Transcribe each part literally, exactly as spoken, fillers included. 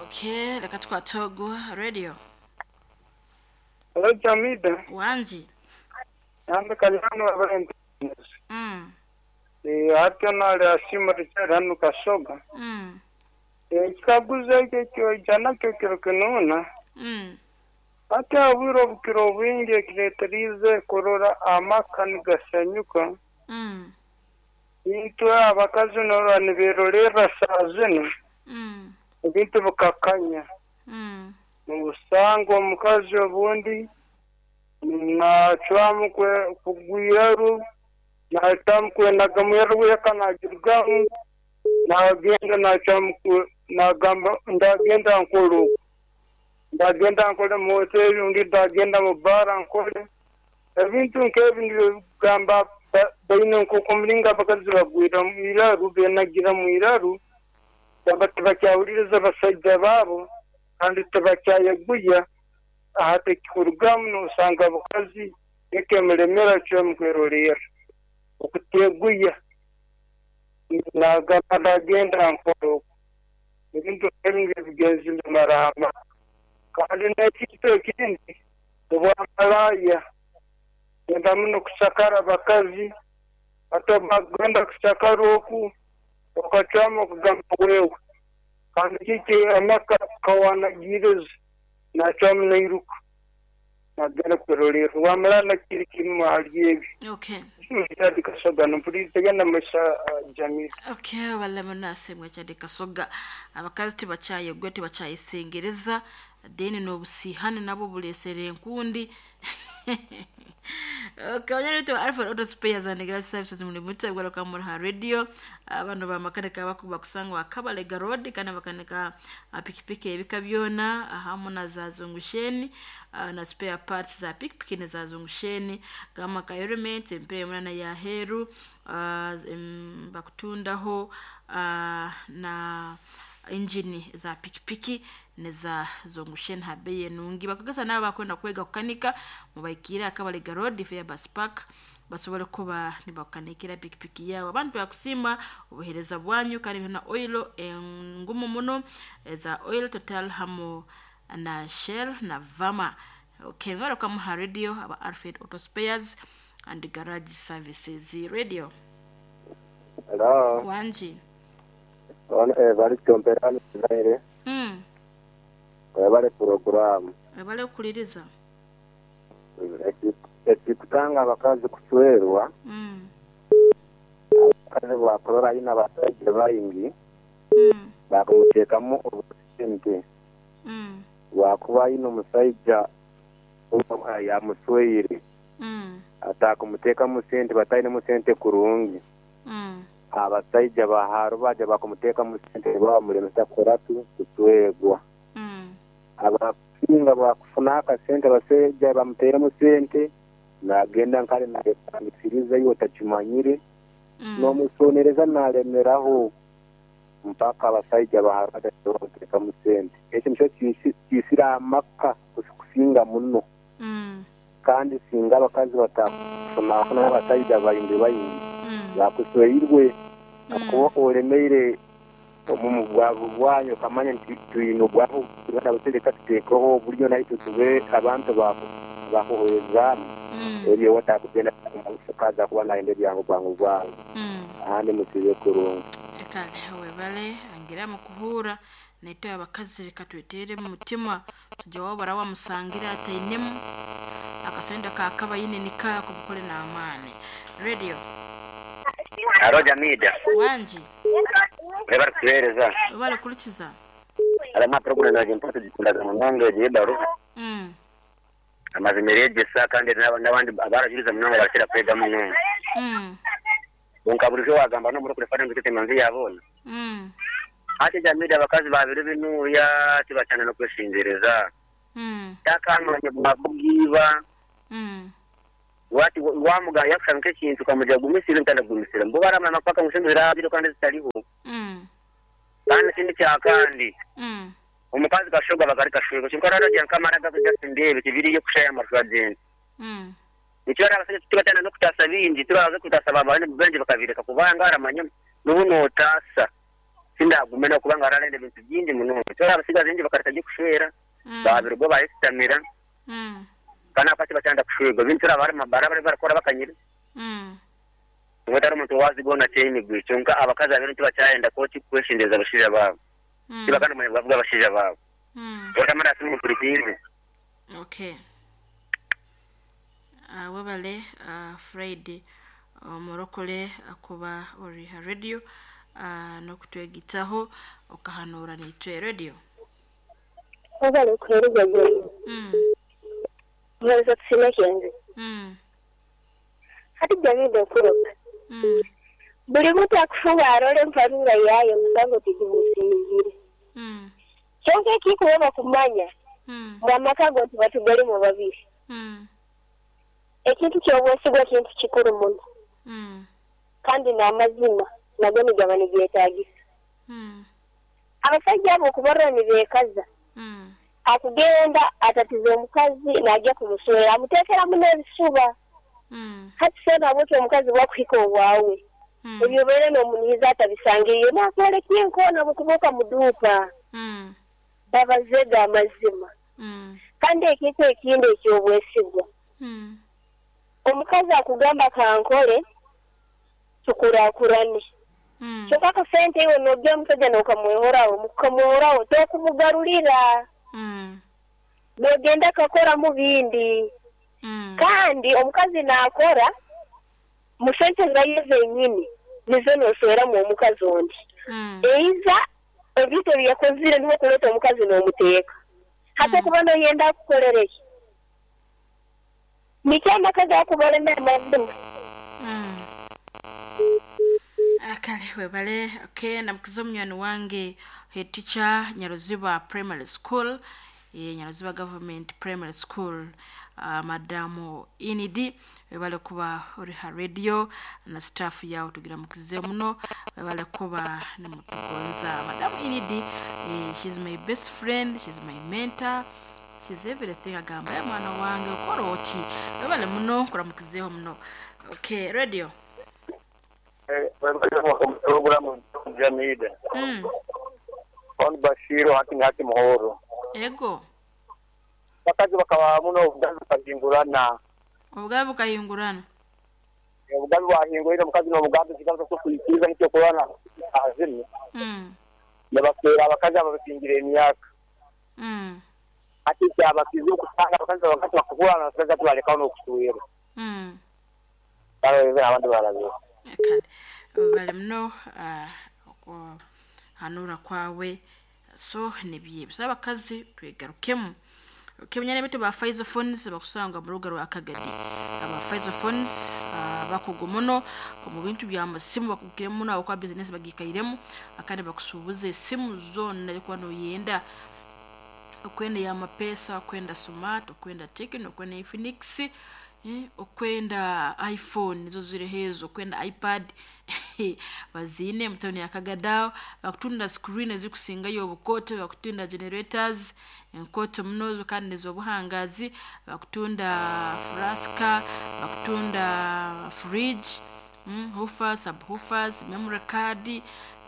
Okay, reka twatogo radio. Hello, Jamida. Wanji. Nambe kanyano abarente. Mm. Eh, hatyo nali asima Richard hanu Kasoga. Mm. Eh, kikaguzo ekyo kyoija nakyo kiro kinuna. Mm. Hati obwire obukiro obwingi ekireeterize kurora amaka nigasanyuka. Mm. Itwe abakazi norora niberorerra saa zinu. Mm. Ebintu bikakanya. Mm. Nobusanga omukazi obundi nacwamu kugwiraru, nacwamu kwenaga mweru weka nagirugamu, nagenda nacwamu nagamba ndagenda nkole oku, ndagenda nkole mu hoteri, undi ndagenda mu bara nkole ebintu nk'ebi nibyo bigamba baine nk'omuringo abakazi bagwira mu iraru, benagira mu iraru, gamba tibakyahuririza abasajja baabo kandi tibakyayeguya. Aha tekikurugamu nosanga abakazi ekemulemera cwamu kwerorera okuteguya, nagamba ndagenda nkole oku, ebintu ebi nibyo bigenzire marama. Kandi n'ekintu ekindi obwamalaaya genda muno kusakara abakazi, ate bagenda kusakara oku okacwamu okugamba wewe, kandi kiki amaka kawanagiriza nacwamu nairuka nagenda kwerorera. Wamala kiri kimu ahari ebi. Okay. Chadi Kasoga nompuliriza genda maisha Jamila. Okay, wala munase mwe Chadi Kasoga. Abakazi tibakyayegwa, tibakyayesengereza, deni n'obusihani nabwo bulesere enkundi. Okay, wanyari to Alfred Auto Spares and Garage Services muri mutego kwa muri radio. Abantu bamakanika bakuba kusangwa Kabalega Road kana bakanika pikipiki ebika byona hamu na za zungusheni na spare parts za pikipiki na za zungusheni gama ka element empere munana ya heru uh, bakutundaho uh, na injini za pikipiki neza zungusheni habeye nungi bakugasa nabo bakwenda kwega kukanika mubaikira Kabalega Road Fair Bus Park basobole kuba nibakanikira pikipiki yawe. Abantu bakusima obuhereza bwanyu kandi na oil engumu muno za oil Total hamu na Shell na Vama. Okay, ngaro kwa radio aba Alfred Auto Spares and Garage Services radio. Hello. Wanji. Ono eh bali tomperano zaire. Mm. Bali program. Bali okuliriza. Ekikutanga abakazi kuswerwa. Mm. Abakazi bakorora ina abasajja bayingi. Mm. Bakumuteekamu obusente. Mm. Wakuba ino omusajja yamusweire. Mm. Atakumuteekamu sente batainemu sente kurungi. Mm. Abasajja baharu baja bakumuteekamu sente bamulemesa kuratu kuswegwa. Mm. Abasinga bakufuna akasente abasajja bamuteeremu sente nagenda nkale nayetandikiriza yo otakimanyire. Mm. N'omusonereza nalemeraho mpaka abasajja baharu baja bamuteekamu sente. Ekyo nikyo kisira amaka kusinga muno. Mm. Kandi singa abakazi batakufuna abasajja bayingi bayingi. Mm. Bakusweirwe akuba olemeire omu bwavu bwanyu kamanya nti twine obwavu tugenda butereka tuteekeho oburyo naitwe tube abantu bakuhwezamu. Ebyo watakugenda omukazi kuba nayenda ebyangu bwangu bwangu. Ahandi musibe kurungi. Kale webale angira mu kuhura naitwe abakazi reka twetere mu mutima tujya wabara wamusangira atainemu akasenda kakabayine nika kubukole n'amaani. Radio. Aro Jamida. Wanji. Webale kuhereza. Webale kulikiza. Alama program na jimpoto jikundaga munonga jibaru. Mm. Amazimere sa kandi n'abandi abarajuriza munonga bakira kwega munonga. Mm. Bonka bulijo wagamba no muri kurefana ngite manzi yabona. Mm. Ate Jamida abakazi babiri binuya tibachana no kweshinzereza. Mm. Takamanya bwabugiba. Mm. Wati wamuga yakusanga ekintu kamuja gumisira ntanda gumisira mbo baramana paka musembera biro kandi zitariho. Mm. Kandi kindi kya kandi. Mm. Omukazi kashoga bakari kashoga kinkarara rya nkamara gakuja sindebe kibiri yo kushaya amarwadeni. Mm. Nikyo abasajja tubatana no kutasa bingi turaza kutasa abantu bengi bakabireka kubanga aramanya n'ubu notasa. Sindagume no kubanga ararenda ebintu bingi muno. Kyora abasigazi bingi bakareta kushwera. Mm. Babirwa bayesitamira. Mm. Kana pati batanda kushwega. Bintu bari mabara bari barakora bakanyira. Mm. Ngotari omuntu wazigona kyemigwi kyonka abakazi abere tibakyayenda koti kweshendeza abashaija baabo. Mm. Tibakana manya bavuga abashaija baabo. Mm. Otamara simu kurikirize. Okay. Uh, webale uh, Fred omurokole akuba ori ha radio uh, nokutwegitaho okahanura nitwe radio. Webale kuhereza jeni. Mm. Mweza tusime kenzi. Mm. Hati jamii kuroka. Mm. Buli muntu akufuba arole mpanura yayo musango tigimusinzire. Mm. Kyonka ekikuweba kumanya Mm. bw'amaka go nti batugalimu babiri. Mm. Ekintu ky'obwesigwa kintu kikuru muno. Mm. Kandi n'amazima nago nigaba nigeetagisa. Mm. Abasajja abo okubarora nibeekaza. Mm. Akugenda atatiza omukazi n'ajja kumuswera amuteekeramu n'ebisuba. Mm. Hati seena bwotyo omukazi bwakuhika obwawe. Mm. Ebyo obeire n'omunihiza atabisangiriye n'akwoleka enkoona bwekuba muduuka. Mm. Babazega amazima. Mm. Kandi ekintu ekindi eky'obwesigwa. Mm. Omukazi akugamba kankole tukurakurane. Mm. Kyokka akasente iwe n'ojja omusajja n'okamwehoraho mukamwehoraho tokumugarurira. Mm. N'ogenda kakoramu bindi. Mm. Kandi omukazi naakora mu sente zaye zenyini nizo nosweramu omukazi ondi. Mm. Eiza ebintu ebi yakozire niho kuleeta omukazi n'omuteeka. Hati Mm. okuba noyenda akukorere ki? Nikyo amaka gakubalemera amazima. Mm. Akale webale. Okay, namukiza omunywani wange head teacher Nyaruziba Primary School, e, Nyaruziba Government Primary School, uh, Madamu Inidi, webale kuba ori ha radio na staff yawe tugira mukize muno, webale kuba nimutugonza. Madamu Inidi, eh, she's my best friend, she's my mentor, she's everything. Agamba ya mwana wange ukora oti, webale muno kuramukizeho muno. Okay, radio. Programu Jamida. Mm. On Bashiru hati ngati muhoro. Ego. Bakazi bakaba muno obugabi bukahingurana. Obugabi bukahingurana. Obugabi bwahingurira omukazi n'obugambi kigambo ky'okwikiriza nikyo kurana azimye. Mm. Nabafera abakazi ababasingira emyaka. Mm. Ati kyabakize okusanga abakazi abakazi bakukurana abakazi tubalekawo n'okuswera. Mm. Kale abantu barabye. Kale bale muno uh, hanura kwawe so nibye so abakazi twegarukemu. Kemunyane betu ba Faizo Phones bakusanga mu ruga rwa Kagadi. Aba Faizo Phones uh, bakugu muno mu bintu bya masimu bakugire muno abakwa business bagikairemu akandi bakusubuze simu zonna ariko no yenda okwenda ya mapesa, okwenda Smart, okwenda Tecno, okwenda Infinix, eh, okwenda iPhone nizo ziri hezo, okwenda iPad bazine mutoni ya Kagadao, bakutunda screen ezikusingayo obukoto, bakutunda generators enkoto muno kandi nizobuhangazi, bakutunda flaska, bakutunda fridge, mm, woofers, subwoofers, memory card,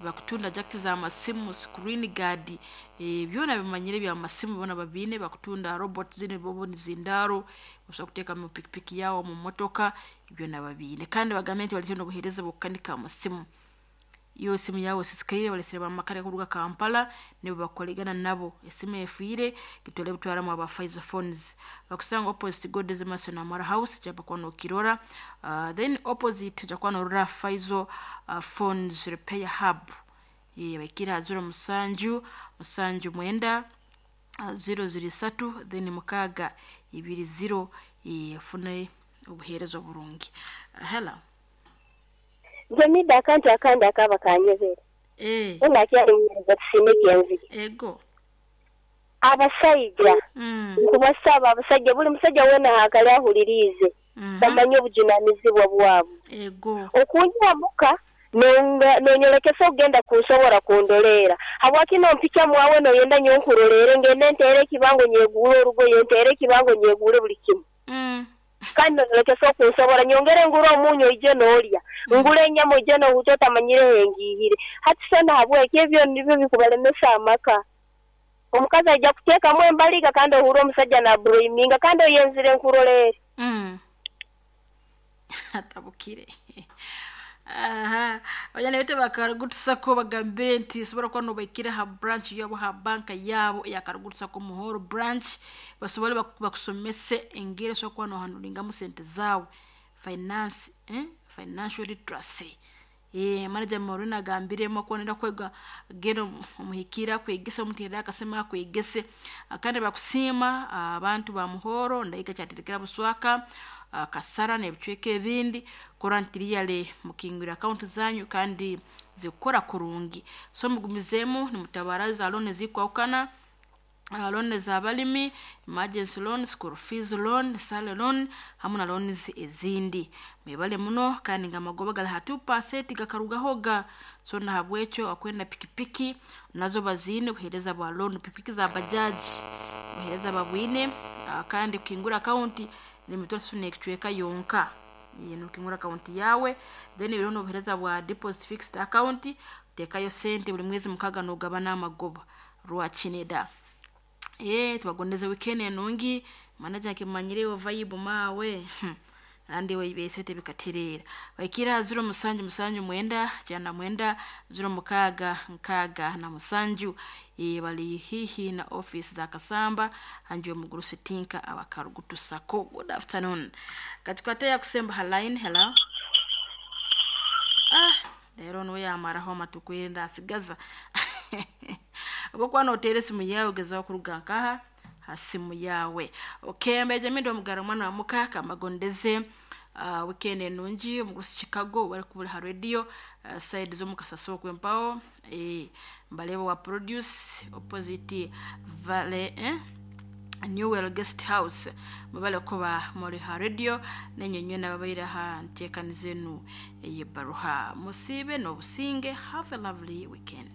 bakutunda jack za masimu, screen guard, e, byona bimanyire bya masimu bona babine, bakutunda robot zine bobo nizindaro usobola kuteeka mu pikipiki yawo mu motoka, byona babine. Kandi bagambe nti balityo n'obuheereza bw'okukanika amasimu. Iyo simu yawe sisikaire balesere bamakare kuruga Kampala nibo bakolegana nabo esimu efiire gitole butwaramu aba Faizo Phones. Bakusanga opposite God's Mason Amara House jaba kwa nokirora, uh, then opposite jakwa norora Faizo uh, Phones Repair Hub. Ye bakira zero musanju musanju mwenda uh, zero zero satu then mukaga ibiri zero ifune obuheereza burungi. Uh, hello. Jamida akantu akandi akaba kanyebera. Eh. Unakyali muhereza tusime kyenzi. Ego. Abasajja. Mm. Nkubasaba abasajja buli musajja wena hakali ahulirize. Mm -hmm. Bamanye obujunanizibwa bwabo. Ego. Okunjira muka nonyolekesa ogenda kunsobora kundolera. Habwaki nompika mwawe noyenda nyonkurolere ngende ntere ekibango nyegule orugoye ntere ekibango nyegule buli kimu. Mm. Kandi nolekesa okunsobora nyongere ngure omunyu oije n'olya. Ngure enyama oije n'ohuta otamanyire engihire. Hati so nahabweki ebyo nibyo bikubalemesa amaka. Omukazi aija kuteekamu embaliga kandi ohura omusajja naburoiminga kandi oyenzire nkuroleere. Mm. Atabukire. Aha, bajana bete bakarugutusako bagambire nti sobola kuba nobaikire ha branch yabo, ha banka yabo yakarugutusako Muhoro branch, basobole baku- bakusomese engeri osobola kuba nohanulingamu sente zaawe, finance, eh? Financial literacy. Eh, manager Maureen agambiremu okuba nenda kwega, genda omu- omuhikire akwegese, omuterere akasema akwegese. Ah, kandi bakusiima ah, abantu ba Muhoro ndaika kyaterekera Buswaka, ah, Kasara n'ebicweka ebindi kora nti riyale mukingwira akaunti zanyu kandi zikukora kurungi. So mugumizeemu nimutabara za loan ezikwahukana, uh, loan z'abalimi, emergency loan, school fees loan, salary loan hamu na loans ezindi. Mwebale muno kandi nga amagoba gali ha two percent gakarugahoga. So nahabwekyo akwenda pikipiki nazo baziine, buheereza bwa loan, pikipiki za bajaji buheereza babwine. uh, kandi kukingura akaunti nemitwaro esatu n'ekicweka yonka. Nokingura akaunti yawe, then biriho n'obuheereza bwa deposit fixed account, teekayo sente buli mwezi mukaga nogabana amagoba rwakineda. Eh, tubagondeze weekend enungi. Manager nkimanyire vibe mawe. Hmm. Andi weibesete bikaterera baikira ziro musanju musanju mwenda kyana mwenda ziro mukaaga nkaaga na musanju. E, bali hihi na office za Kasamba hanju omugurusi Tinka abakarugutusako. Good afternoon. Katukwate kusemba ha line. Hello. Ah, lero niwe yamaraho amatuku ndasigaza obokuba noteera esimu yawe, gezaho kuruga nkaha ha simu yawe. Okay, mbeje mindo omugara mwana wa muka kamagondeze uh, weekend enungi. Omugurusi Chicago bari kubura ha radio, uh, side z'omukasasi okwempaho, eh, mbaleba wa produce opposite vale, eh? Newell Guest House. Mubale kuba muri ha radio nenyonyo nababaire ha nteekaniza enu ey'ebbaruha. Musiibe n'obusinge. Have a lovely weekend.